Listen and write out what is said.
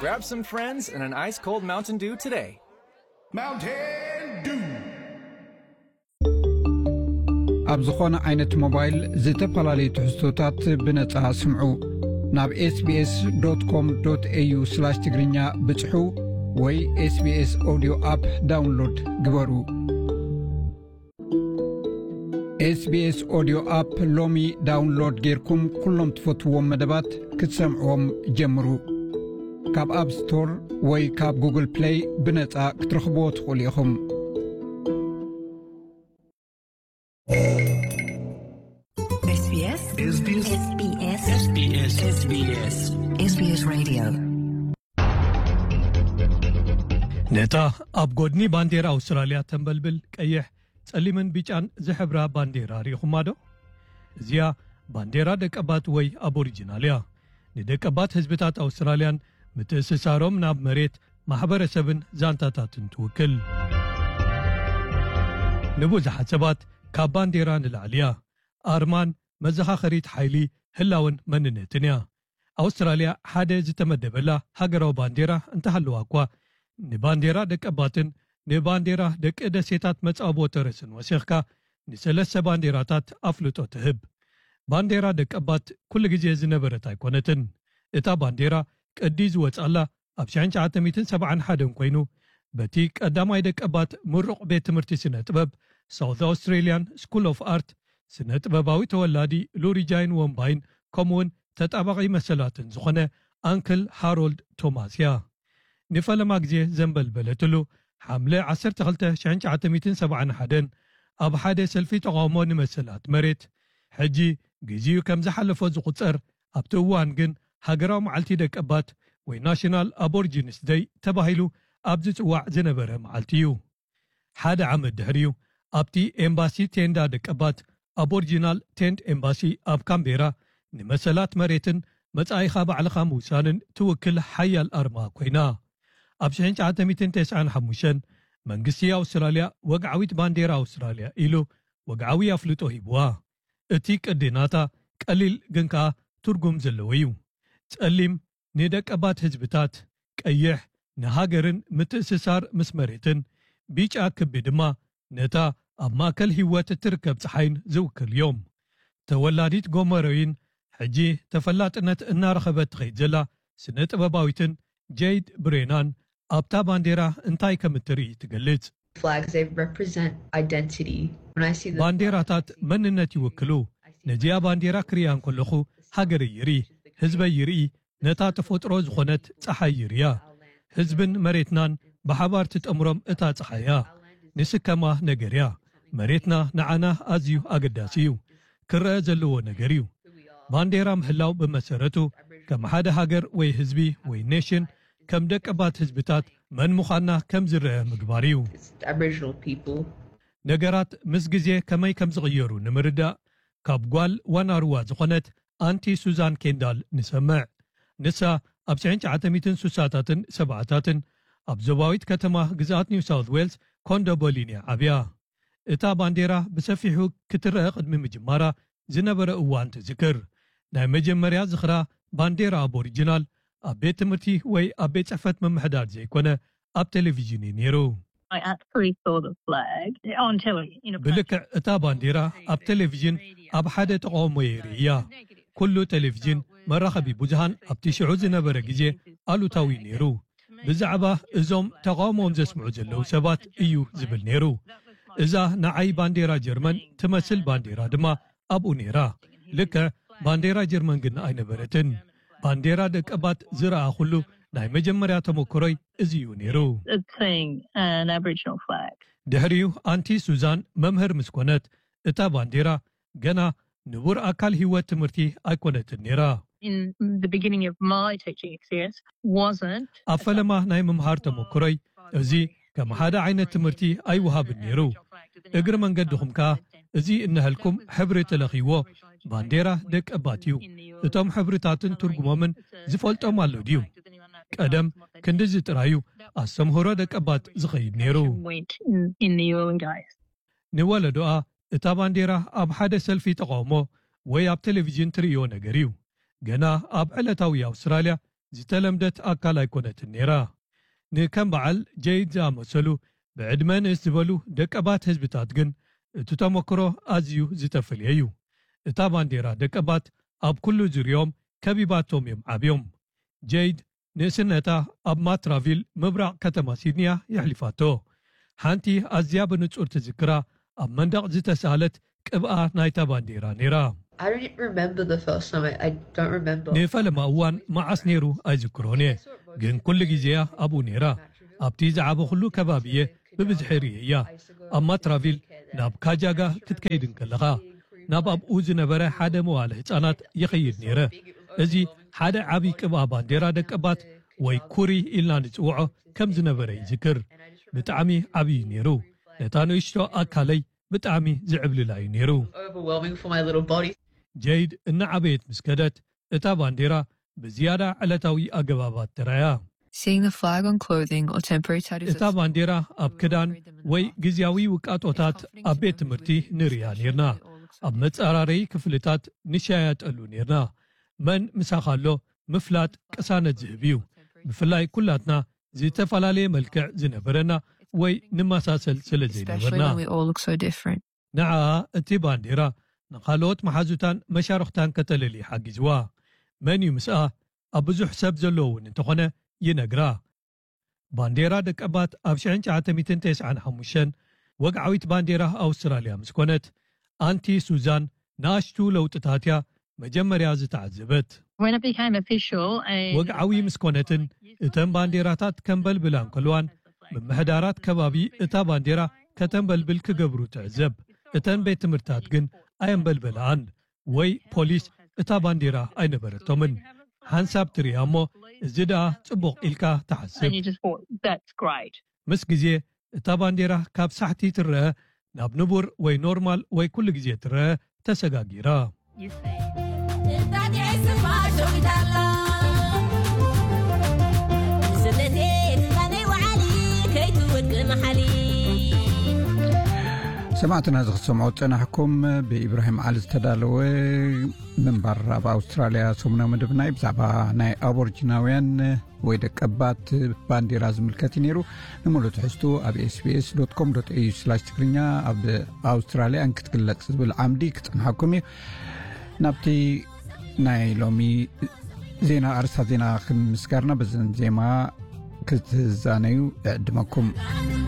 Grab some friends and an ice cold Mountain Dew today. Mountain Dew. ኣብ ዝኾነ ዓይነት ሞባይል ዝተፈላለዩ ትሕዝቶታት ብነጻ ስምዑ። ናብ ኤስቢኤስ ዶት ኮም ዶት ኤዩ ስላሽ ትግርኛ ብጽሑ ወይ ኤስቢኤስ ኦዲዮ ኣፕ ዳውንሎድ ግበሩ። ኤስቢኤስ ኦዲዮ ኣፕ ሎሚ ዳውንሎድ ጌርኩም ኩሎም ትፈትዎም መደባት ክትሰምዕዎም ጀምሩ። ካብ ኣፕ ስቶር ወይ ካብ ጉግል ፕሌይ ብነጻ ክትረኽብዎ ትኽእሉ ኢኹም። SBS SBS SBS SBS SBS Radio. ነታ ኣብ ጎድኒ ባንዴራ ኣውስትራልያ ተንበልብል ቀይሕ፣ ጸሊምን ቢጫን ዝሕብራ ባንዴራ ርኢኹማ ዶ? እዚኣ ባንዴራ ደቀባት ወይ ኣቦሪጂናል እያ። ንደቀባት ህዝብታት ኣውስትራልያን ምትእስሳሮም ናብ መሬት፣ ማሕበረሰብን ዛንታታትን ትውክል። ንብዙሓት ሰባት ካብ ባንዴራ ንላዕሊ እያ። ኣርማን መዘኻኸሪት ሓይሊ፣ ህላውን መንነትን እያ። ኣውስትራልያ ሓደ ዝተመደበላ ሃገራዊ ባንዴራ እንተሃለዋ እኳ፣ ንባንዴራ ደቀባትን ንባንዴራ ደቂ ደሴታት መጻብቦ ተረስን ወሲኽካ ንሰለስተ ባንዴራታት ኣፍልጦ ትህብ። ባንዴራ ደቀባት ኩሉ ግዜ ዝነበረት ኣይኮነትን። እታ ባንዴራ ቅዲ ዝወጻላ ኣብ ሸሕን ትሽዓተ ሚእትን ሰብዓን ሓደን ኮይኑ፣ በቲ ቀዳማይ ደቀባት ምሩቕ ቤት ትምህርቲ ስነ ጥበብ ሳውት ኣውስትሬልያን ስኩል ኦፍ ኣርት ስነ ጥበባዊ ተወላዲ ሉሪ ጃይን ወምባይን ከምኡውን ተጣባቒ መሰላትን ዝኾነ ኣንክል ሃሮልድ ቶማስ እያ። ንፈለማ ግዜ ዘንበልበለትሉ ሓምለ ዓሰርተ ክልተ ሸሕን ትሽዓተ ሚእትን ሰብዓን ሓደን ኣብ ሓደ ሰልፊ ተቓውሞ ንመሰላት መሬት፣ ሕጂ ግዜኡ ከም ዝሓለፎ ዝቑጸር፣ ኣብቲ እዋን ግን ሃገራዊ መዓልቲ ደቀባት ወይ ናሽናል ኣቦሪጂንስ ደይ ተባሂሉ ኣብ ዝጽዋዕ ዝነበረ መዓልቲ እዩ። ሓደ ዓመት ድሕሪኡ ኣብቲ ኤምባሲ ቴንዳ ደቀባት ኣቦሪጂናል ቴንት ኤምባሲ ኣብ ካምቤራ ንመሰላት መሬትን መጻኢኻ ባዕልኻ ምውሳንን ትውክል ሓያል ኣርማ ኮይና። ኣብ ሽሕን ትሽዓተ ሚእትን ተስዓን ሓሙሽተን መንግስቲ ኣውስትራልያ ወግዓዊት ባንዴራ ኣውስትራልያ ኢሉ ወግዓዊ ኣፍልጦ ሂብዋ። እቲ ቅዲ ናታ ቀሊል ግን ከኣ ትርጉም ዘለዎ እዩ። ጸሊም ንደቀባት ህዝብታት፣ ቀይሕ ንሃገርን ምትእስሳር ምስ መሬትን፣ ቢጫ ክቢ ድማ ነታ ኣብ ማእከል ህይወት እትርከብ ጸሓይን ዝውክል እዮም። ተወላዲት ጎመሮይን ሕጂ ተፈላጥነት እናረኸበት ትኸይድ ዘላ ስነ ጥበባዊትን ጀይድ ብሬናን ኣብታ ባንዴራ እንታይ ከም እትርኢ ትገልጽ። Flags, they represent identity. When I see the ባንዴራታት መንነት ይውክሉ። ነዚኣ ባንዴራ ክሪኣ እንከለኹ ሃገረይ ይርኢ፣ ህዝበይ ይርኢ፣ ነታ ተፈጥሮ ዝኾነት ጸሓይ ይርእያ። ህዝብን መሬትናን ብሓባር ትጠምሮም እታ ጸሓይ እያ። ንስከማ ነገር እያ። መሬትና ንዓና ኣዝዩ ኣገዳሲ እዩ። ክረአ ዘለዎ ነገር እዩ። ባንዴራ ምህላው ብመሰረቱ ከም ሓደ ሃገር ወይ ህዝቢ ወይ ኔሽን ከም ደቀባት ህዝብታት መን ምዃንና ከም ዝረአ ምግባር እዩ። Aboriginal people. ነገራት ምስ ግዜ ከመይ ከም ዝቕየሩ ንምርዳእ ካብ ጓል ዋናሩዋ ዝኾነት ኣንቲ ሱዛን ኬንዳል ንሰምዕ። ንሳ ኣብ ሽሕን ትሽዓተ ሚእትን ስሳታትን ሰብዓታትን ኣብ ዞባዊት ከተማ ግዝኣት ኒው ሳውት ዌልስ ኮንዶቦሊን እያ ዓብያ። እታ ባንዴራ ብሰፊሑ ክትረአ ቅድሚ ምጅማራ ዝነበረ እዋን ትዝክር። ናይ መጀመርያ ዝኽራ ባንዴራ ኣቦሪጂናል ኣብ ቤት ትምህርቲ ወይ ኣብ ቤት ጽሕፈት ምምሕዳር ዘይኮነ ኣብ ቴሌቪዥን እዩ ነይሩ። I actually saw the flag on telly in a ብልክዕ እታ ባንዴራ ኣብ ቴሌቪዥን ኣብ ሓደ ተቃውሞ የርኢ እያ። ኩሉ ቴሌቪዥን መራኸቢ ብዙሃን ኣብቲ ሽዑ ዝነበረ ግዜ ኣሉታዊ ነይሩ። ብዛዕባ እዞም ተቃውሞኦም ዘስምዑ ዘለዉ ሰባት እዩ ዝብል ነይሩ። እዛ ንዓይ ባንዴራ ጀርመን ትመስል ባንዴራ ድማ ኣብኡ ነይራ። ልክዕ ባንዴራ ጀርመን ግን ኣይነበረትን። ባንዴራ ደቀባት ዝረኣኹሉ ናይ መጀመርያ ተመክሮይ እዚ እዩ ነይሩ። Of seeing an Aboriginal flag. ድሕሪኡ ኣንቲ ሱዛን መምህር ምስ ኮነት እታ ባንዴራ ገና ንቡር ኣካል ህይወት ትምህርቲ ኣይኮነትን ነይራ። In the beginning of my teaching experience wasn't ኣብ ፈለማ ናይ ምምሃር ተመክሮይ እዚ ከም ሓደ ዓይነት ትምህርቲ ኣይወሃብን ነይሩ። እግሪ መንገድኹም ከኣ እዚ እነሀልኩም ሕብሪ ተለኺዎ ባንዴራ ደቀባት እዩ። እቶም ሕብርታትን ትርጉሞምን ዝፈልጦም ኣሎ ድዩ? ቀደም ክንድዚ ጥራዩ ኣስተምህሮ ደቀባት ዝኸይድ ነይሩ። went in, in the early days. ንወለዶኣ እታ ባንዴራ ኣብ ሓደ ሰልፊ ተቃውሞ ወይ ኣብ ቴሌቪዥን ትርእዮ ነገር እዩ። ገና ኣብ ዕለታዊ ኣውስትራልያ ዝተለምደት ኣካል ኣይኮነትን ነይራ። ንከም በዓል ጀይድ ዝኣመሰሉ ብዕድመ ንእስ ዝበሉ ደቀባት ህዝብታት ግን እቲ ተመክሮ ኣዝዩ ዝተፈልየ እዩ። እታ ባንዴራ ደቀባት ኣብ ኩሉ ዙርዮም ከቢባቶም እዮም ዓብዮም። ጀይድ ንእስነታ ኣብ ማትራቪል ምብራቕ ከተማ ሲድኒያ የሕሊፋቶ። ሓንቲ ኣዝያ ብንጹር ትዝክራ ኣብ መንደቕ ዝተሳለት ቅብኣ ናይታ ባንዴራ ነይራ። I don't remember the first time. I, I don't remember. ንፈለማ እዋን መዓስ ነይሩ ኣይዝክሮን እየ፣ ግን ኩሉ ግዜያ ኣብኡ ነይራ። ኣብቲ ዝዓበኹሉ ከባቢ እየ ብብዝሒ ርእየያ። ኣብ ማትራቪል ናብ ካጃጋ ክትከይድ እንከለኻ ናብ ኣብኡ ዝነበረ ሓደ መዋለ ህጻናት ይኸይድ ነይረ። እዚ ሓደ ዓቢ ቅብኣ ባንዴራ ደቀባት ወይ ኩሪ ኢልና ንጽውዖ ከም ዝነበረ ይዝክር። ብጣዕሚ ዓብዪ ነይሩ። ነታ ንእሽቶ ኣካለይ ብጣዕሚ ዝዕብልላ እዩ ነይሩ። Overwhelming for my little body. ጀይድ እናዓበየት ምስ ከደት እታ ባንዴራ ብዝያዳ ዕለታዊ ኣገባባት ተራእያ። Seeing the flag on clothing or temporary tattoos እታ ባንዴራ ኣብ ክዳን ወይ ግዜያዊ ውቃጦታት ኣብ ቤት ትምህርቲ ንርእያ ነይርና። ኣብ መጻራረይ ክፍልታት ንሻያጠሉ ነይርና። መን ምሳኻ ኣሎ ምፍላጥ ቅሳነት ዝህብ እዩ። ብፍላይ ኩላትና ዝተፈላለየ መልክዕ ዝነበረና ወይ ንመሳሰል ስለ especially ዘይነበርና። When we all look so different. ንዓኣ እቲ ባንዴራ ንኻልኦት መሓዙታን መሻርኽታን ከተለሊ ሓጊዝዋ። መን እዩ ምስኣ ኣብ ብዙሕ ሰብ ዘለዎ እውን እንተኾነ ይነግራ። ባንዴራ ደቀባት ኣብ ሽሕን ትሽዓተ ሚእትን ተስዓን ሓሙሽተን ወግዓዊት ባንዴራ ኣውስትራልያ ምስ ኮነት ኣንቲ ሱዛን ንኣሽቱ ለውጥታት እያ መጀመርያ ዝተዓዘበት። When it became official, and ወግዓዊ ምስ ኮነትን እተን ባንዴራታት ከንበልብላ እንከልዋን ምምሕዳራት ከባቢ እታ ባንዴራ ከተንበልብል ክገብሩ ትዕዘብ። እተን ቤት ትምህርታት ግን ኣየንበልበላኣን ወይ ፖሊስ እታ ባንዴራ ኣይነበረቶምን። ሓንሳብ ትርእያ እሞ እዚ ደኣ ጽቡቕ ኢልካ ትሓስብ። and you just thought, that's great. ምስ ግዜ እታ ባንዴራ ካብ ሳሕቲ ትረአ ናብ ንቡር ወይ ኖርማል ወይ ኩሉ ግዜ ትረአ ተሰጋጊራ። እታ ዲዒ ስማ ሸዊት ኣላ። ስለዚ ትዛነይ ወዓሊ ከይትወድቂ መሓሊ። ሰማዕትና፣ እዚ ክትሰምዑ ዝጸናሕኩም ብኢብራሂም ዓሊ ዝተዳለወ ምንባር ኣብ ኣውስትራልያ ሰሙናዊ መደብና እዩ። ብዛዕባ ናይ ኣቦርጂናውያን ወይ ደቀባት ባንዴራ ዝምልከት እዩ ነይሩ። ንምሉእ ትሕዝቱ ኣብ ኤስቢኤስ ዶት ኮም ዶት ኤዩ ስላሽ ትግርኛ፣ ኣብ ኣውስትራልያ እንክትግለጽ ዝብል ዓምዲ ክጸንሓኩም እዩ። ናብቲ ናይ ሎሚ ዜና፣ ኣርስታት ዜና ክንምስጋርና፣ በዘን ዜማ ክትዛነዩ እዕድመኩም።